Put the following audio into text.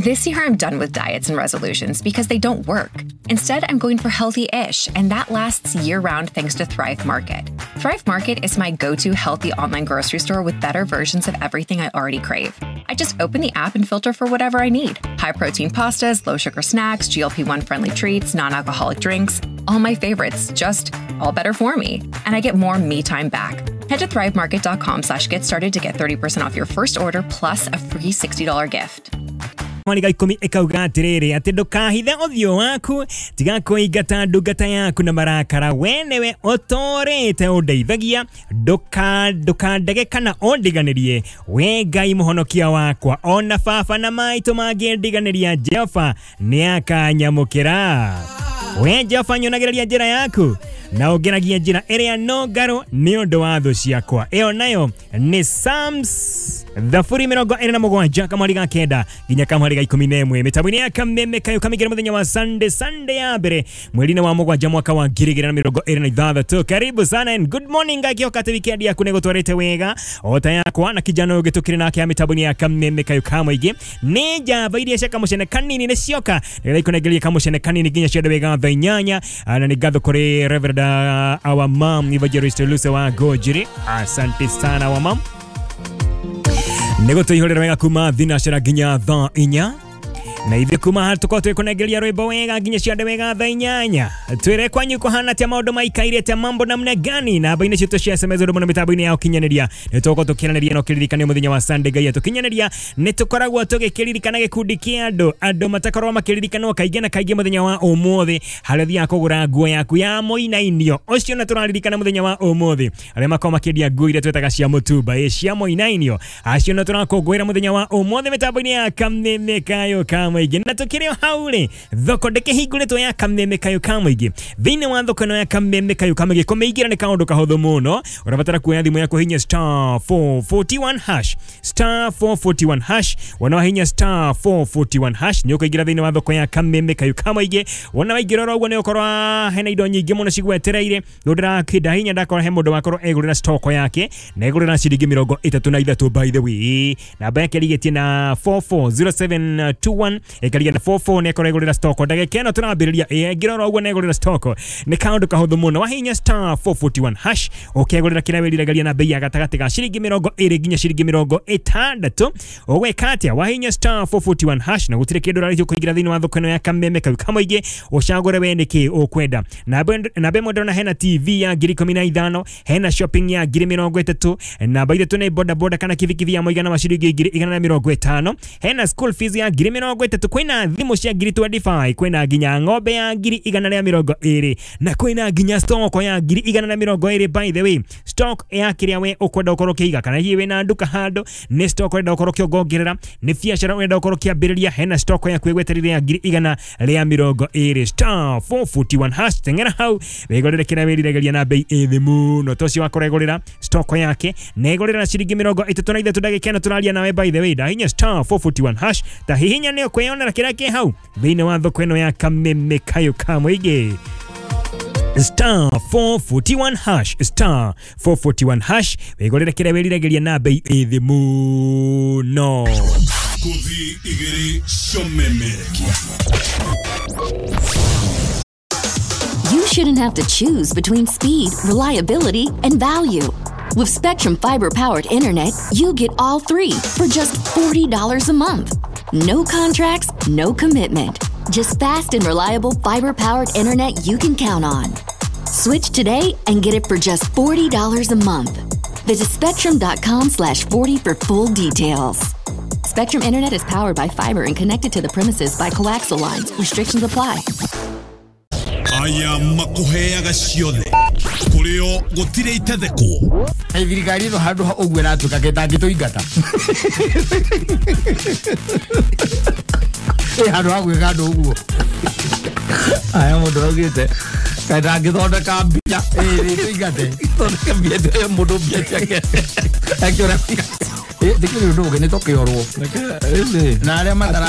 This year, I'm done with diets and resolutions because they don't work. Instead, I'm going for healthy-ish, and that lasts year-round thanks to Thrive Market. Thrive Market is my go-to healthy online grocery store with better versions of everything I already crave. I just open the app and filter for whatever I need. High-protein pastas, low-sugar snacks, GLP-1 friendly treats, non-alcoholic drinks, all my favorites, just all better for me. And I get more me time back. Head to thrivemarket.com/get started to get 30% off your first order plus a free $60 gift. Mwariga ikumi ikauga atiriri ati ndukahithe uthio waku tiga kuingata ndungata yaku na marakara we niwe utorite undeithagia ndukandege kana undiganirie we Ngai muhonokia wakwa ona baba na maitũ mangĩndiganĩria Jehova nĩakanyamũkĩra. We Jehova nyonagĩrĩria njĩra yaku na ũngeragia njĩra ĩrĩa nũngarũ nĩ ũndũ wa thũ ciakwa. Ĩyo nayo nĩ Psalms thaburi 27 kamwari ga 9 nginya kamwari ga 11 mĩtambo-inĩ ya Kameme kayo kamĩingĩra mũthenya wa Sunday, Sunday ya mbere mweri-inĩ wa mũgwanja mwaka wa 2026. Karibu sana and good morning. Ngakĩhoka atĩ weekend yaku nĩ gũtwarĩte wega o ta yakwa na kijana ũyũ tũkĩrĩ nake ya mĩtambo-inĩ ya Kameme kayo ka mũingĩ. Nĩ njamba iria cia kamũcene kanini nĩ cioka nĩgetha ikũnengerie kamũcene kanini nginya ciende wega thaa 8. Na nĩ ngatho kũrĩ Reverend our mom Evangelist Lucy wa Gojiri, asante sana wa mom nĩguo tũihũrĩre wega kuma thinacera nginya thaa 4 na ithuĩ kuma haha tũkorwo twĩkũnengeria rwĩmbo wega nginya ciande wega thaa 8. Twĩre kwanyu kũhana atĩa, maũndũ maikaire atĩa, mambo namna gani? Namba-inĩ citũ cia SMS ũndũ mũno mĩtambo-inĩ ya ũkinyanĩria nĩ tũgũkorwo tũkĩaranĩria na ũkĩririkane mũthenya wa Sunday Ngai atũkinyanĩria nĩ tũkoragwo tũgĩkĩririkana gĩkundi kĩa andũ andũ matakoragwo makĩririkanwo kaingĩ na kaingĩ mũthenya wa ũmũthĩ harĩa ũthiaga kũgũra nguo yaku ya mũinainio ũcio na tũraririkana mũthenya wa ũmũthĩ arĩa makoragwo makĩendia nguo iria twĩtaga cia mũtumba ĩ cia mũinainio acio na tũrakũngũĩra mũthenya wa ũmũthĩ mĩtambo-inĩ ya Kameme kayo ka mũingĩ. Na tũkĩrĩ o hau rĩ, thoko ndĩkĩhingũrĩtwo ya Kameme kayo ka mũingĩ. Thĩinĩ wa thoko ĩno ya Kameme kayo ka mũingĩ kũmĩingĩra nĩ kaũndũ kahũthũ mũno. Ũrabatara kuoya thimũ yaku hinya star 441 hash, star 441 hash. Wona wahinya star 441 hash nĩ ũkũingĩra thĩinĩ wa thoko ya Kameme kayo ka mũingĩ. Wona waingĩra oro ũguo nĩ ũkorwo hena indo nyingĩ mũno cigwetereire. Rĩu ndĩrakĩnda hinya ndakora he mũndũ wakorwo egũrĩra stock yake na egũrĩra ciringi 33 by the way. Namba yake ĩrigĩtie na 440721 ĩkaria na 44 nĩ akorwo egũrĩra stock ndagĩka ĩno tũrambĩrĩria ĩngĩra oro ũguo nĩ egũrĩra stock nĩ kaũndũ kahũthũ mũno. Wahinya star 441 hash ũkegũrĩra kĩrĩa wĩriragĩria na bei ya gatagatĩ ga ciringi 20 nginya ciringi 60. Ũgwĩka atĩa? Wahinya star 441 hash na gũtirĩ kĩndũ ũrarĩhio kũingĩra thĩinĩ wa thoko ĩno ya Kameme kau ka mũingĩ ũcagũre we nĩkĩ ũkwenda. Namba ĩmwe ndĩrona hena TV ya 15,000, hena shopping ya 30,000, namba ithatũ nĩ boda boda kana kibikibi ya mũigana wa ciringi 150,000, hena school fees ya 30,000, kwĩna thimũ cia 25,000, kwĩna nginya ng'ombe ya 120,000 na kwĩna nginya stock ya 120,000. By the way, stock ya kĩrĩa we ũkwenda ũkorwo ũkĩiga kana hihi wĩna nduka handũ nĩ stock ũrenda ũkorwo ũkĩongongerera, nĩ biacara ũrenda ũkorwo ũkĩambĩrĩria, hena stock yaku ĩgwetereire ya 120,000. Star 441 hash teng'era hau wĩgũrĩre kĩrĩa wĩriragĩria na bei ĩ thĩ mũno. Ta ũcio wakorwo egũrĩra stock yake na egũrĩra na ciringi 33 ndagĩka ĩno tũraria nawe. By the way, ndahinya star 441 hash ta hihinya nĩ ũkwĩyonera kĩrĩa kĩ hau thĩinĩ wa thoko ĩno ya Kameme kayo ka mũingĩ. Star 441 hash, star 441 hash wĩgũrĩre kĩrĩa wĩriragĩria na bei ĩ thĩ mũno. Kuthi igĩrĩ Shomemerekia. You shouldn't have to choose between speed, reliability, and value. With Spectrum Fiber-powered internet, you get all three for just $40 a month. No contracts, no commitment. Just fast and reliable fiber-powered internet you can count on. Switch today and get it for just $40 a month. Visit spectrum.com/40 for full details. Spectrum Internet is powered by fiber and connected to the premises by coaxial lines. Restrictions apply. Aya makuheaga ciothe kũrĩo gũtirĩ itethekwo. Thirikari ĩno handũ ha ũguo ĩratuĩka gĩtangĩtũingata ĩ handũ ha gwĩka andũ ũguo. Aya mũndũ augĩte kaĩ ndangĩthondeka mbia ĩtũingate thondeke mbia mũndũ mbia ciake akĩũra ndĩkĩrĩ ũndũ ũngĩ nĩ tũkĩorwo na arĩa matara